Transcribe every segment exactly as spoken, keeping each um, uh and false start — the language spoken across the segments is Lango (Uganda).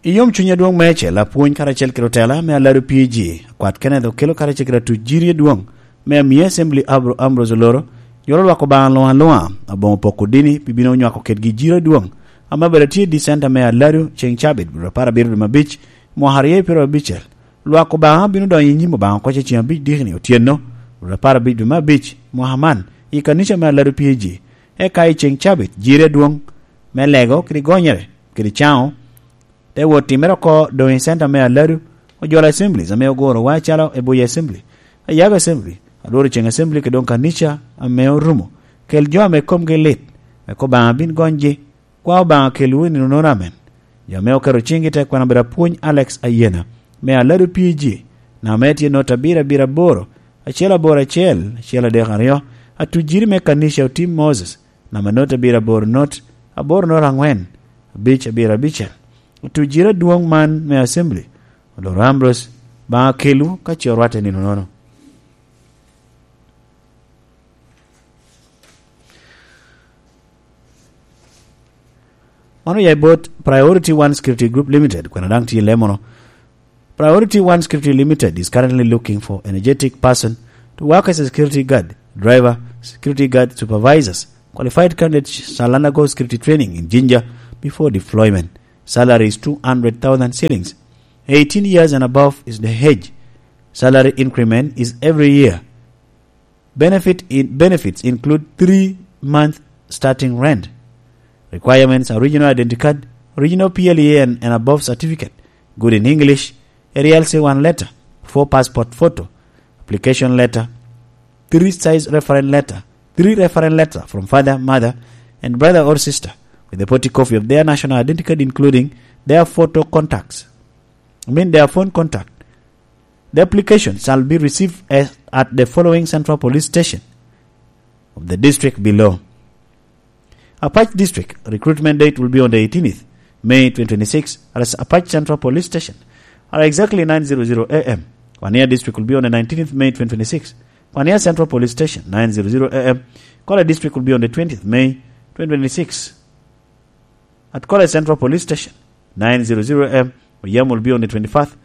I yom cuny adwoŋ meicel, apwony karacel kede otela me Alado P A G, Akwat Kenneth Okello karacel kede atuc jiri adwoŋ me Amia Assembly Abro-, Ambrose Oloro, yolo lwak Obaŋa luŋ aluŋa, aboŋo poko dini pi bino nywako kedgi jiri adwoŋ, ame obedo tye i Dicenta me Alado ceŋ cabit, apar abiro dwe me abic, mwaka aryo pyeraryo abicel. Lwak Obaŋa bino donyo i nyim Obaŋa koc i ceŋ abic dikni otyeno, apar abic dwe me abic, mwaka man, i kanica me Alado P A G, eka i ceŋ cabit, jiri adwoŋ me lego kede gonyere kede caŋo, te wot timmere oko doŋ i center me Aladu, Ojwala Assemblies ame oguro wa acalo Ebuya Assembly, Ayago Assembly, Alworo Ceŋ Assembly, kede doŋ kanica ame orumo. Kel jo ame komgi lit, wek Obaŋa bin gonygi, kwa Obaŋa kelwu i nino nono amen. Jo ame oketo ciŋgi i te kwena obedo apwony Alex Ayena, me Aladu P A G, namba mere tye not abiro abiro aboro, acel aboro acel, acel adek aryo, atujiri me kanica Otim Moses, namba not abiro aboro not, aboro not aŋwen, abic abiro abicel. Tujjere adwoŋ man me Assembly, Oloro Ambrose, Obaŋa kelwu ka ce orwatte nino nono. Mano ya i bot Priority One Security Group Limited, kwena daŋ tye i lemono. Priority One Security Limited is currently looking for energetic person to work as a security guard, driver, security guard supervisors. Qualified candidates shall undergo security training in Jinja before deployment. Salary is two hundred thousand shillings. Eighteen years and above is the age. Salary increment is every year. Benefit in, benefits include three-month starting rent. Requirements are original identity card, original P L E A and, and above certificate, good in English, A R C one letter, four passport photo, application letter, three size reference letter, three reference letter from father, mother, and brother or sister with a photocopy of their national identity card, including their photo contacts. I mean, their phone contact. The application shall be received at, at the following Central Police Station of the district below. Apac District, recruitment date will be on the eighteenth May twenty twenty-six at Apac Central Police Station at exactly nine zero zero A M. Wania District will be on the nineteenth May twenty twenty-six. Wania Central Police Station, nine zero zero A M. Kola District will be on the twentieth May twenty twenty-six at Kola Central Police Station, nine zero zero A M. Oyam will be on the twenty-fourth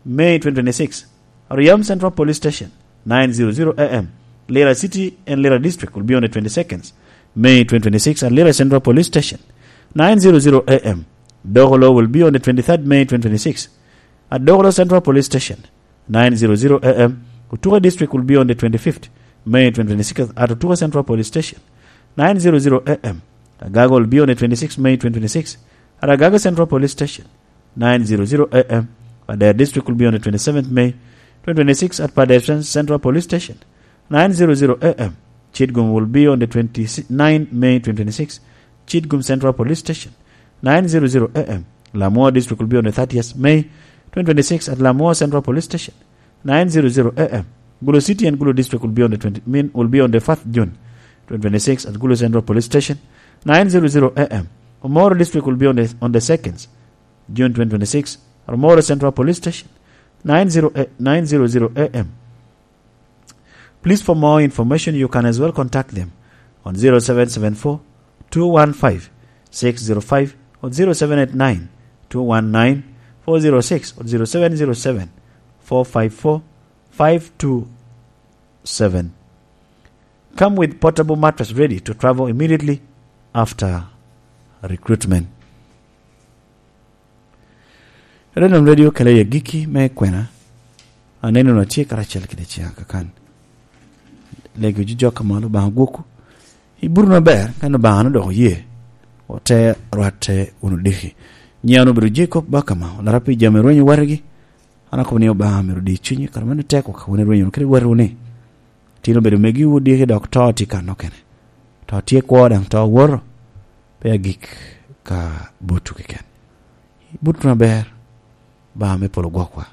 May twenty twenty-six. Oyam Central Police Station, nine zero zero A M. Lira City and Lira District will be on the twenty-second May twenty twenty-six at Lira Central Police Station, nine zero zero A M. Dogolo will be on the twenty-third May twenty twenty-six at Dogolo Central Police Station, nine zero zero A M. Otuka District will be on the twenty-fifth May twenty twenty-six at Otuka Central Police Station, nine zero zero A M. Agago will be on the twenty-sixth May twenty twenty-six at Agago Central Police Station, nine zero zero A M. Pader District will be on the twenty-seventh May twenty twenty-six at Pader Cen-, Central Police Station, nine zero zero A M. Kitgum will be on the twenty-ninth May twenty twenty-six, Kitgum Central Police Station, nine zero zero A M. Lamwo District will be on the thirtieth May twenty twenty-six at Lamwo Central Police Station, nine zero zero A M. Gulu City and Gulu District will be on the twenty, mean, will be on the first June twenty twenty-six at Gulu Central Police Station, nine zero zero A M. Omoro District will be on the, on the second June twenty twenty-six at Omoro Central Police Station, nine zero, nine zero zero A M. Please, for more information, you can as well contact them on zero seven seven four, two one five, six zero five or zero seven eight nine, two one nine, four zero six or zero seven zero seven, four five four, five two seven. Come with portable mattress ready to travel immediately after recruitment. Renon Radio kela i agikki me kwena. Aneno na tye karacel kede ciŋa kakan. Lego jujok ka malo, Obaŋa gwokwu. Ibuto maber, kan Obaŋa dok oye, ote rwatte wunu diki. Nyiŋa obedo Jacob Bakama, olara pi jami rwenyo watigi. An akobo ni Obaŋa myero odi cunyi, kara meno tek waka wun irwenyo wunu kede watiwu ni, tin obedo megiwu diki dok to tye kan okene. To tye kwo daŋ to owoto, pe agik ka botwu keken. Ibut wunu aber, Obaŋa me polo gwokwa.